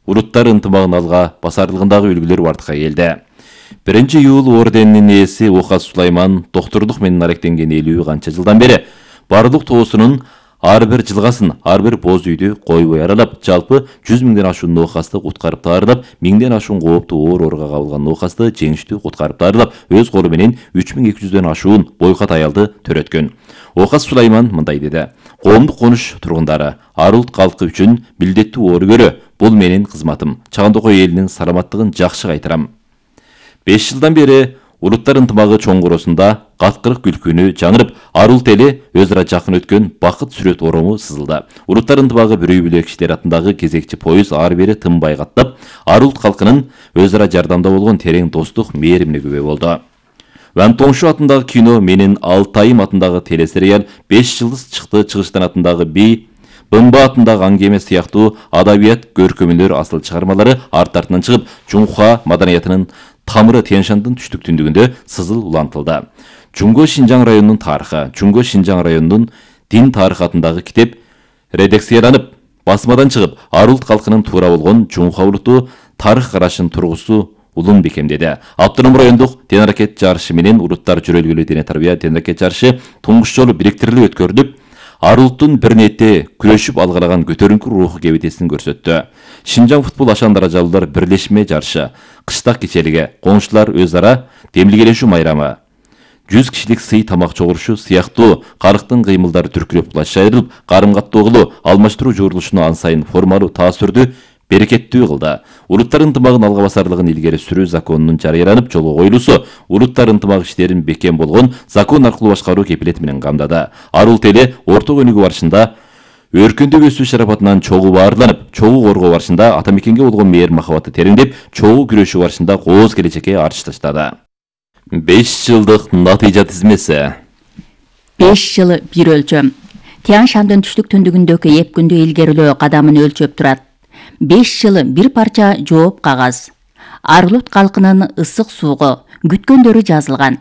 Уруттар ынтымагын алга басарлыгындагы үлгүлөр бардыкка келди. 1-июл орденинин ээси Оқас Сулайман докторлук менен аректенген 50 канча жылдан бери бардык тоосунун ар бир жылгасын, ар бир боз үйдү койбой аралап, жалпы 100 миңден ашуун оокасты куткарып таарылап, 1000ден ашуун кооптуу ооруга кабылган оокасты жеңиштүү куткарып таарылап, өз колу менен 3200дөн ашуун бойкот аялды төрөткөн. Оқас Сулайман мындай деди: "Коомдук конуш тургундары, ар улут калкы үчүн милдеттүү оор көрө. Бул менин кызматым. Чагандыкой элинин саламаттыгын жакшы кайтарам." 5 жылдан бери Уруттар ынтымагы чоңгуроосунда каткырык күлкүнү жаңырып, ар улут эли өзара жакын өткөн бакыт сүрөт орому сызылды. Уруттар ынтымагы бирөө бүлө кишилер атындагы кезекчи поезд ары бери тынбай каттап, ар улут калкынын өзара жардамда болгон терең достук мээримине күбө болду. Ван Тоңшу атындагы кино менен Алтайым атындагы телесериал, 5 жылдыз чыкты Чыгыштан атындагы би, Бымба атындагы аңгеме сыяктуу адабият көркөмүлөр асыл чыгармалары арт артынан чыгып, Жунха маданиятынын тамыры Тянь-Шандын түштүк түндүгүндө сызыл улантылды. Чуңго Шинжаң районунун тарыхы, Чуңго Шинжаң районунун дин тарыхы атындагы китеп редакцияланып, басмадан чыгып, ар улут калкынын туура болгон Жунха улуту тарых карашын тургусу улун бекемдеди. Автоном райондук тен-аракет жарышы менен уруттар жөрөлгөлүү дене тарбия тен-аракет жарышы туңгуш жолу бириктирилип өткөрүлүп, ар улуттун бир нетте күрөшүп алгалаган көтөрүңкү руху кебетесин көрсөттү. Шинжаң футбол ашан даражалуулар бирлешме жарышы, кыштак кечелиги, коңшулар өз ара демилгелешүү майрамы, 100 кишилик сый тамак чогурушу сыяктуу карыктын кыймылдары түркүлөп кулашча айрылып, карым-каттоогулу алмаштыруу журулушуну ан сайын формалуу таасирдүү берекеттүү кылды. Уруттар ынтымагын алга басарлыгын илгери сүрүү законунун жарыяланып жолго коюлуусу уруттар ынтымак иштерин бекем болгон закон аркылуу башкаруу кепилети менен камдады. Ар улут эли орто өнүгүү барышында өркүндүк өсүү шарапатынан чогуу баарланып, чогуу коргоо барышында ата мекенге болгон мээр махабаты тереңдеп, чогуу күрөшүү барышында кооз келечекке арчы таштады. 5 жылдык натыйжа тизмеси. 5 жылы бир өлчөм. Тянь-Шандын түштүк түндүгүндөгү 2 күндү илгерилөө кадамын өлчөп турат. 5 жылы бир парча жооп кагаз. Ар улут калкынын ысык суугу күткөндөрү жазылган.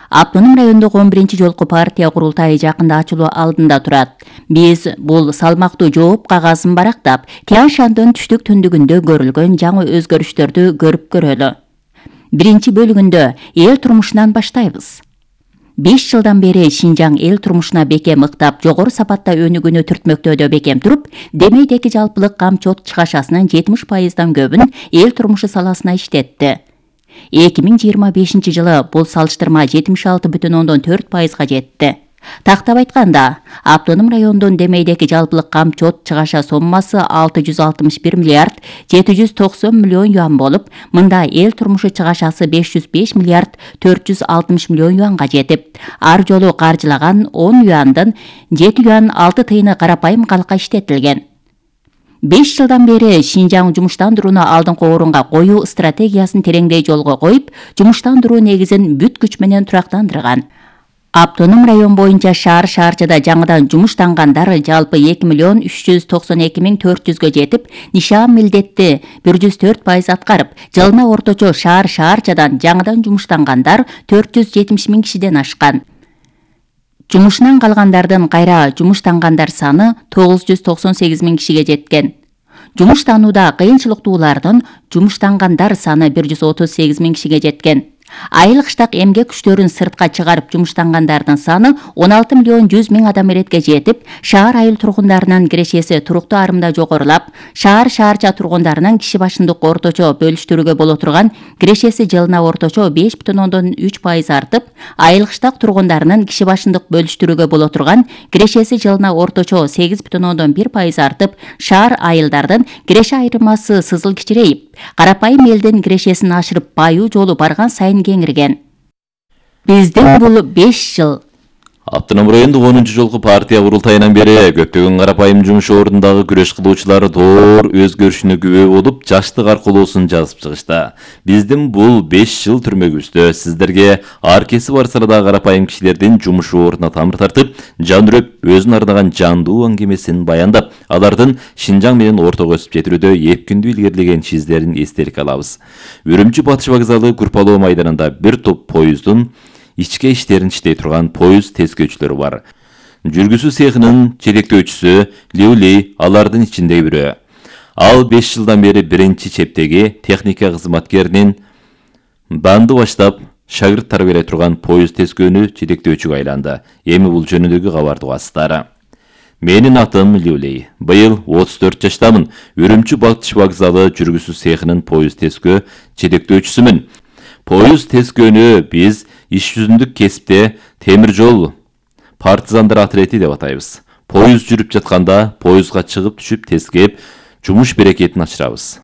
Автоном райондогу 11-жолку партия курултайы жакында ачылуу алдында турат. Биз бул салмактуу жооп кагазын барактап, Тянь-Шандын түштүк түндүгүндө көрүлгөн жаңы өзгөрүштөрдү көрүп көрөлү. 1 бөлүгүндө эл турмушунан баштайбыз. 5 жылдан бери Шинжаң эл турмушуна бекем ыктап, жогору сапатта өнүгүүнү түртмөктөөдө бекем туруп, демейдеги жалпылык камчот чыгашасынын 70%дан көбүн эл турмушу саласына иштетти. 2025 жылы бул салыштырма 76,4%га жетти. Тактап айтканда, автоном райондун демейдеги жалпылык камчот чыгаша соммасы 661 миллиард 790 миллион юан болуп, мында эл турмушу чыгашасы 505 миллиард 460 миллион юанга жетип, ар жолу каржылаган 10 юандын 7 юан 6 тыйыны карапайым калкка иштетилген. 5 жылдан бери Шинжаң жумуштандырууну алдыңкы орунга коюу стратегиясын тереңдей жолго коюп, жумуштандыруу негизин бүт күч менен турактандырган. Автоном район боюнча шаар-шаарчада жаңыдан жумуштангандар жалпы 2.392.400га жетип, нишан милдетти 104% аткарып, жылына орточо шаар-шаарчадан жаңыдан жумуштангандар 470.000 кишиден ашкан. Жумушунан калгандардын кайра жумуштангандар саны 998.000 кишиге жеткен. Жумуштанууда кыйынчылыктуулардын жумуштангандар саны 138.000 кишиге жеткен. Айыл кыштак эмгек күчтөрүн сыртка чыгарып жумуштангандардын саны 16.100.000 адам эретке жетип, шаар айыл тургундарынын кирешеси туруктуу арымда жогорулап, шаар-шаарча тургундарынын киши башындык орточо бөлүштүрүүгө боло турган кирешеси жылына орточо 5.3% артып, айыл кыштак тургундарынын киши башындык бөлүштүрүүгө боло турган кирешеси жылына орточо 8.1% артып, шаар айылдардын киреше айырмасы сызыл кичирейип, карапайым элдин кирешесин ашырып байуу жолу барган сайын кеңирген. Биздин бул 5 жыл. Автоном райондук 10-жолку партия курултайынан бери көптөгөн карапайым жумуш ордундагы күрөш кылуучулар доор өзгөрүшүнө күбө болуп, жаштык аркылуусун жазып чыгышты. Биздин бул 5 жыл түрмөгүбүздө сиздерге ар кесип бар салада карапайым кишилердин жумуш ордуна тамыр тартып, жан үрөп, өзүн арнаган жандуу аңгемесин баяндап, алардын Шинжаң менен ортого өсүп жетирүүдө эпкиндүү илгерилеген чиздерин эстеликке алабыз. Үрүмчү Батыш вокзалы Курпалоо майданында бир топ поезддун ичке иштерин иштей турган поезд тескөөчүлөрү бар. Жүргүзүү цехинин жетектөөчүсү Леулей алардын ичинде бирөө. Ал 5 жылдан бери биринчи чептеги техника кызматкеринин банды баштап шагырт тарбиялай турган поезд тескөөнү жетектөөчүгө айланды. Эми бул жөнүндөгү кабарды угасыздар. Менин атым Люлей. Быйыл 34 жаштамын. Үрүмчү Батыш вокзалы жүргүзүү цехинин поезд тескөө жетектөөчүсүмүн. Поезд тескөөнү биз иш жүзүндүк кесипте темир жол партизандар отряди деп атайбыз. Поезд жүрүп жатканда поездга чыгып түшүп тескеп жумуш берекетин ачырабыз.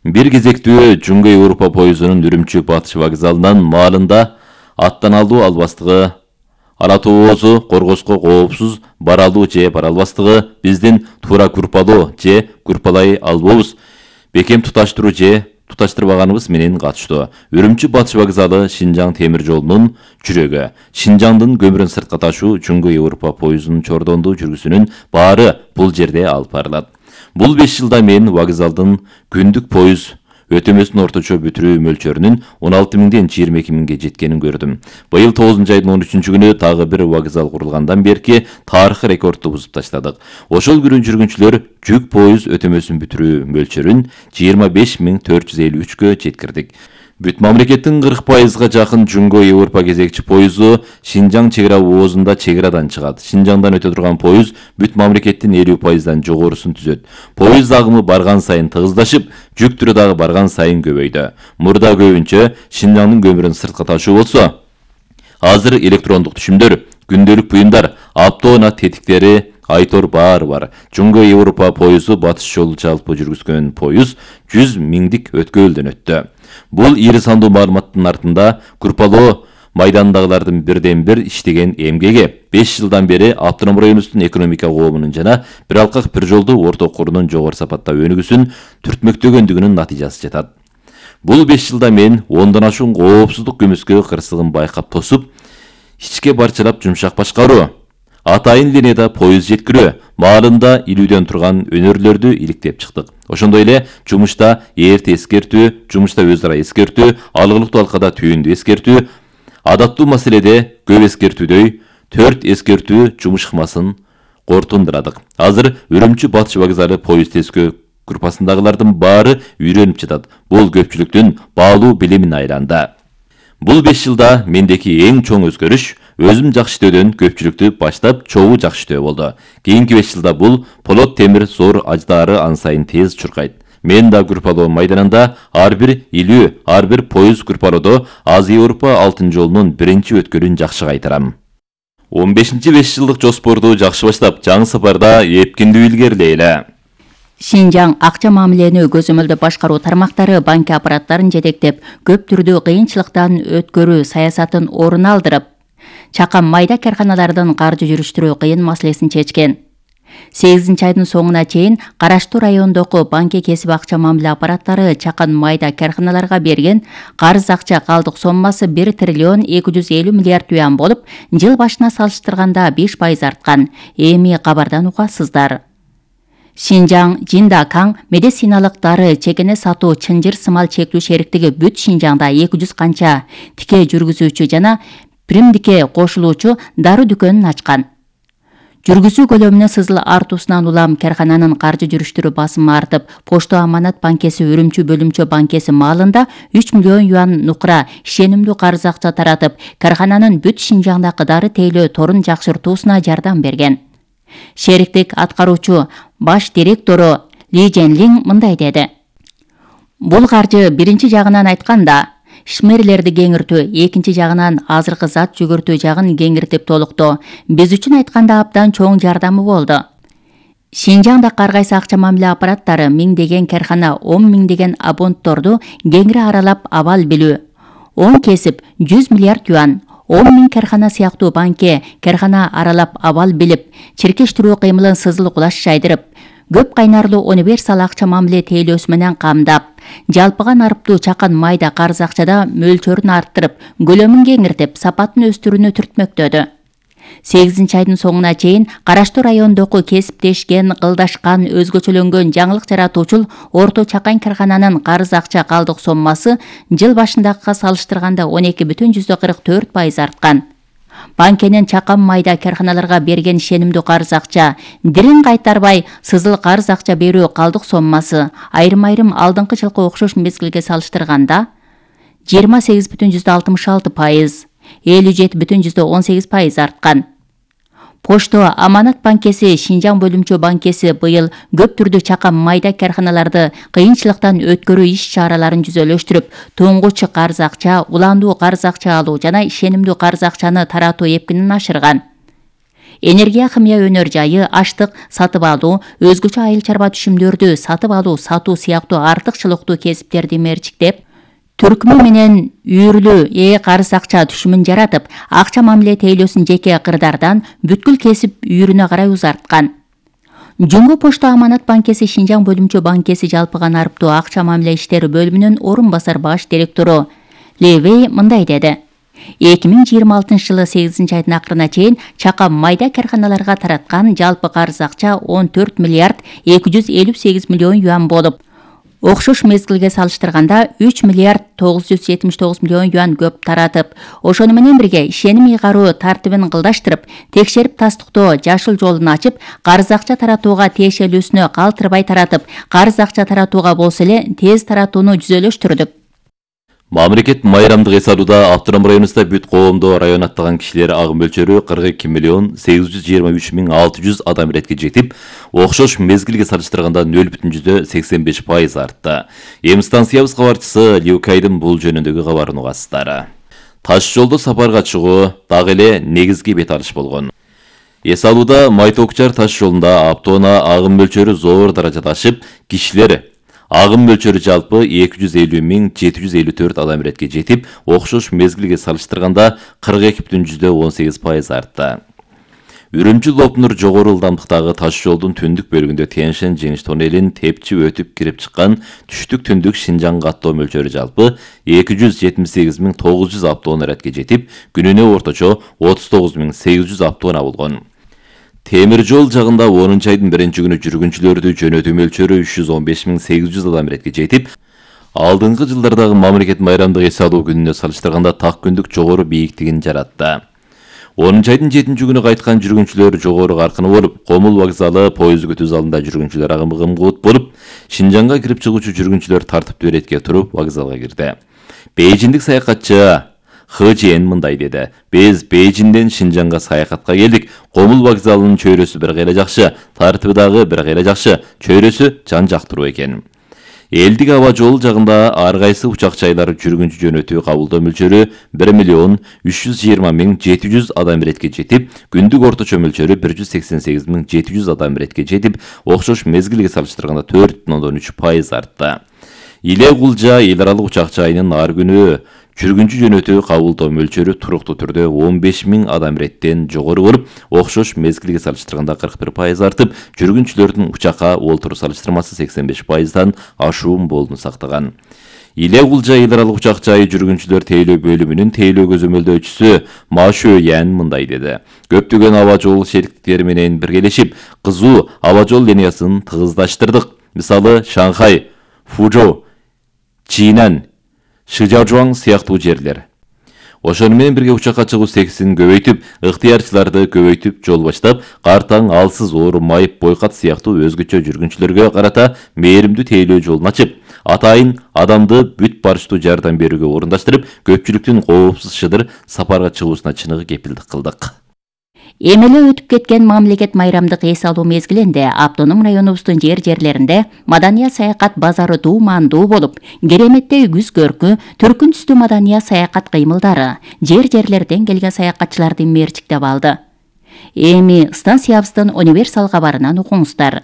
Бир кезектүү Жунго Европа поездунун Үрүмчү Батыш вокзалынан маалында аттан алуу албастыгы, ара тоозу коргоско коопсуз бара алуу же бара албастыгы, биздин туура группалоо же группалай албообуз, бекем туташтыруу же туташтырбаганыбыз менен катыштуу. Үрүмчү Батыш вокзалы Шинжаң темир жолунун жүрөгү. Шинжаңдын көмүрүн сыртка ташуу Жунго Европа поездунун чордондуу жүргүсүнүн баары бул жерде алып барылат. Бул 5 жылда мен вокзалдын күндүк поезд өтөмөсүнүн орточо бүтүрүү мөлчөрүнүн 16 миңден 22 миңге жеткенин көрдүм. Быйыл 9 айдын 13-күнү дагы бир вокзал курулгандан берки тарыхый рекордду бузуп таштадык. Ошол күнү жүргүнчүлөр жүк поезд өтөмөсүн бүтүрүү мөлчөрүн 25.453гө жеткирдик. Бүт мамлекеттин 40%га жакын Жунго Европа кезекчи поезду Шинжаң чек ара оозунда чек арадан чыгат. Шинжаңдан өтө турган поезд бүт мамлекеттин 50%дан жогорусун түзөт. Поезд агымы барган сайын тыгыздашып, жүк түрү дагы барган сайын көбөйдү. Мурда көбүнчө Шинжаңдын көмүрүн сыртка ташуу болсо, азыр электрондук түшүмдөр, күндөлүк буюмдар, автоунаа тетиктери, айтор баары бар. Жунго Европа поезду Батыш жолу жалпы жүргүзгөн поезд 100 миңдик өткөлдөн өттү. Бул ири сандуу маалыматтын артында группалоо майдандагылардын бирден бир иштеген эмгеги 5 жылдан бери автоном районубуздун экономика коомунун жана бир алкак бир жолдуу орто курунун жогору сапатта өнүгүүсүн түртмөктөгөндүгүнүн натыйжасы жатат. Бул 5 жылда мен 10дон ашуун коопсуздук көмүскө кырсыгын байкап тосуп, ичке барчалап жумшак башкаруу, атайын линияда поезд жеткирүү, маалында илүүдөн турган өнөрлөрдү иликтеп чыктык. Ошондой эле жумушта эрте эскертүү, жумушта өз ара эскертүү, алгылыктуу алкада түйүндү эскертүү, адаттуу маселеде көп эскертүүдөй 4 эскертүү жумуш ыкмасын кортундурадык. Азыр Үрүмчү Батыш вокзалы поезд тескөө группасындагылардын баары үйрөнүп жатат. Бул көпчүлүктүн баалуу билимине айланды. Бул 5 жылда мендеки эң чоң өзгөрүш өзүм жакшы иштөөдөн көпчүлүктү баштап чогуу жакшы иштөө болду. Кийинки 5 жылда бул полот темир зор аждаары ан сайын тез чуркайт. Мен да группалоо майданында ар бир илүү, ар бир поезд группалоодо Азия Европа алтын жолунун биринчи өткөлүн жакшы кайтарам. 15-5 жылдык жоспорду жакшы баштап, жаңы сапарда эпкиндүү илгерилейли. Шинжаң акча мамилени көзөмөлдө башкаруу тармактары банк аппараттарын жетектеп, көп түрдүү кыйынчылыктан өткөрүү саясатын орун алдырып, чакан майда карханалардын каржы жүрүштүрүү кыйын маселесин чечкен. 8 айдын соңуна чейин караштуу райондогу банк кесип акча мамиле аппараттары чакан майда карханаларга берген карыз акча калдык соммасы 1 триллион 250 миллиард юан болуп, жыл башына салыштырганда 5% арткан. Эми кабардан угасыздар. Шинжаң Жиндакаң медициналык дары чегене сатуу чынжыр сымал чектүү шериктиги бүт Шинжаңда 200 канча тике жүргүзүүчү жана примдикке кошулуучу дары дүкөнүн ачкан. Жүргүзүү көлөмүнө сызыл артуусунан улам кархананын каржы жүрүштүрүү басымы артып, Почто Аманат банкеси Үрүмчү бөлүмчө банкеси маалында 3 миллион юан нукра ишенимдүү карыз акча таратып, кархананын бүт Шинжаңдагы дары тейлөө торун жакшыртуусуна жардам берген. Шериктик аткаруучу баш директору Ли Женлин мындай деди. Бул каржы биринчи жагынан айтканда шмерлерди кеңиртүү, экинчи жагынан азыркы зат жүгүртүү жагын кеңиртип толуктоо биз үчүн айтканда абдан чоң жардамы болду. Шинжаңда ар кайсы акча мамиле аппараттары миңдеген кархана, 10 миңдеген абонтторду кеңири аралап абал билүү. 10 кесип 100 миллиард юан, 10 миң кархана сыяктуу банке кархана аралап абал билип, чиркештирүү кыймылын сызыл кулаш жайдырып, көп кайнарлуу универсал акча мамиле тейлөөсү менен камдап, жалпыга нарыптуу чакан майда карыз акчада мөлчөрүн арттырып, көлөмүн кеңиртип, сапатын өстүрүүнү түртмөктөдү. 8 айдын соңуна чейин караштуу райондогу кесиптешкен, кылдашкан, өзгөчөлөнгөн жаңылык жаратуучул орто чакан кархананын карыз акча калдык соммасы жыл башындагыга салыштырганда 12,44% арткан. Банкенин чакан майда карханаларга берген ишенимдүү карыз акча, дирин кайтарбай сызыл карыз акча берүү калдык соммасы айрым-айрым алдыңкы жылкы окшош мезгилге салыштырганда 28,66%, 57,18% арткан. Почто Аманат банкеси, Шинжаң бөлүмчө банкеси быйыл көп түрдүү чакан майда карханаларды кыйынчылыктан өткөрүү иш-чараларын жүзөлөштүрүп, тоңгучу карыз акча, уландуу карыз акча алуу жана ишенимдүү карыз акчаны таратуу эпкинин ашырган. Энергия химия өнөр жайы, аштык сатып алуу, өзгөчө айыл чарба түшүмдөрдү сатып алуу, сатуу сыяктуу артыкчылыктуу кесиптерди мерчиктеп, түркүмү менен үйүрлүү карыз акча түшүмүн жаратып, акча мамиле тейлөөсүн жеке кырдардан бүткүл кесип үйүрүнө карай узарткан. Жумго Почто Аманат банкеси, Шинжаң бөлүмчө банкеси жалпыга нарыптуу акча мамиле иштери бөлүмүнүн орун басар баш директору Левей мындай деди. 2026-жылы 8-айдын акырына чейин чакан майда карханаларга тараткан жалпы карыз акча 14 миллиард 258 миллион юан болуп, окшош мезгилге салыштырганда 3 миллиард 979 миллион юан көп таратып, ошону менен бирге ишеним ыйгаруу тартибин кылдаштырып, текшерип тастыктоо жашыл жолун ачып, карыз акча таратууга тиешелүүсүнө калтырбай таратып, карыз акча таратууга болсо эле тез таратууну жүзөлөштүрдүк. Мамлекет майрамдык эс алууда Автоном районунда бүт коомдо район аттаган кишилер агым мөлчөрү 42,823,600 адам иретке жетип, окшош мезгилге салыштырганда 0,85% артты. Эми станциябыз кабарчысы Лиукайдын бул жөнүндөгү кабарын угасыздар. Таш жолдо сапарга чыгуу дагы эле негизги бет алыш болгон. Эс алууда Майтокчар таш жолунда Автоона агым мөлчөрү зор даражада ашып, кишилер агым мөлчөрү жалпы 250,754 адам иретке жетип, окшош мезгилге салыштырганда 42,18% артты. Үрүмчү-Лопнур жогору ылдамдыктагы таш жолдун түндүк бөлүгүндө Тянь-Шань жеңиш тоннелин тепчип өтүп кирип чыккан түштүк-түндүк Шинжаң каттоо мөлчөрү жалпы 278,900 автоон иретке жетип, күнүнө орточо 39,800 автоон болгон. Темир жол жагында 10-айдын 1-күнү жүргүнчүлөрдү жөнөтүү мөлчөрү 315,800 адам иретке жетип, алдыңкы жылдардагы мамлекет майрамдык эс алуу күнүнө салыштырганда так күндүк жогору бийиктигин жаратты. 10-айдын 7-күнү кайткан жүргүнчүлөр жогору каркыны болуп, Комул вокзалы поезд күтүү залында жүргүнчүлөр агымы кымгуут болуп, Шинжаңга кирип чыгуучу жүргүнчүлөр тартиптүү иретке туруп вокзалга кирди. Бейжиндик саякатчы Хыжен мындай деди. Биз Бейжинден Шинжаңга саякатка келдик. Комул вокзалынын чөйрөсү бир кайра жакшы, тартиби дагы бир кайра жакшы, чөйрөсү жан жактыруу экен. Элдик аба жол жагында ар кайсы учак жайлар жүргүнчү жөнөтүү кабылдоо мөлчөрү 1,320,700 адам иретке жетип, күндүк орточо мөлчөрү 188,700 адам иретке жетип, окшош мезгилге салыштырганда 4,3% артты. Иле Кулжа эл аралык учак жайынын ар күнү жүргүнчү жөнөтүү кабылдоо мөлчөрү туруктуу түрдө 15,000 адам иреттен жогору болуп, окшош мезгилге салыштырганда 41% артып, жүргүнчүлөрдүн учакка олтуруу салыштырмасы 85%дан ашуун болуну сактаган. Иле Кулжа эл аралык учак жайы жүргүнчүлөр тейлөө бөлүмүнүн тейлөө көзөмөлдөөчүсү Машө Ян мындай деди. Көптөгөн аба жол шериктери менен биргелешип, кызуу аба жол линиясын тыгыздаштырдык. Мисалы, Шанхай, Фужоу, Чинан, Шижаожуаң сыяктуу жерлер. Ошону менен бирге учакка чыгуу секисин көбөйтүп, ыктыярчыларды көбөйтүп жол баштап, картаң, алсыз, оору, майып, бойкат сыяктуу өзгөчө жүргүнчүлөргө карата мээримдүү тейлөө жолун ачып, атайын адамды бүт барыштуу жардам берүүгө орундаштырып, көпчүлүктүн коопсуз шыдыр сапарга чыгуусуна чыныгы кепилдик кылдык. Эмеле өтүп кеткен мамлекет майрамдык эс алуу мезгилинде Автоном районубуздун жерлеринде маданият саякат базары дуумандуу болуп, кереметтей күз көркү, түркүн түстүү маданият саякат кыймылдары жерлерден келген саякатчыларды мерчиктеп алды. Эми станциябыздын универсал кабарынан угуңуздар.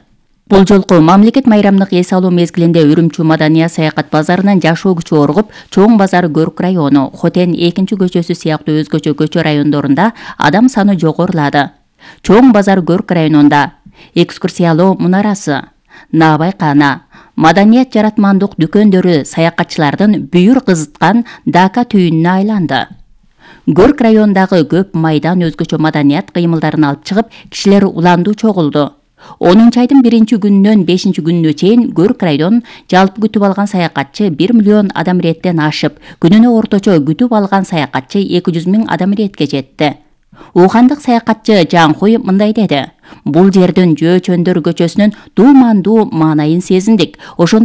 Бул жолку мамлекет майрамдык эс алуу мезгилинде Үрүмчү маданият саякат базарынын жашоо күчү оргуп, Чоң базар Көрк району, Хотен 2-көчөсү сыяктуу өзгөчө көчө райондорунда адам саны жогорулады. Чоң базар Көрк районунда экскурсиялоо мунарасы, Наабай кана, маданият жаратмандык дүкөндөрү саякатчылардын бүйүр кызыткан дака түйүнүнө айланды. Көрк районундагы көп майдан өзгөчө маданият кыймылдарын алып чыгып, кишилер уландуу чогулду. 10-айдын 1-күнүнөн 5-күнүнө чейин Көрк район жалпы күтүп алган саякатчы 1 миллион адам иреттен ашып, күнүнө орточо күтүп алган саякатчы 200,000 адам иретке жетти. Ухандык саякатчы Жанкоев мындай деди: Бул жердин Жөө Чөндөр көчөсүнүн дуумандуу маанайын сезиндик. Ошондой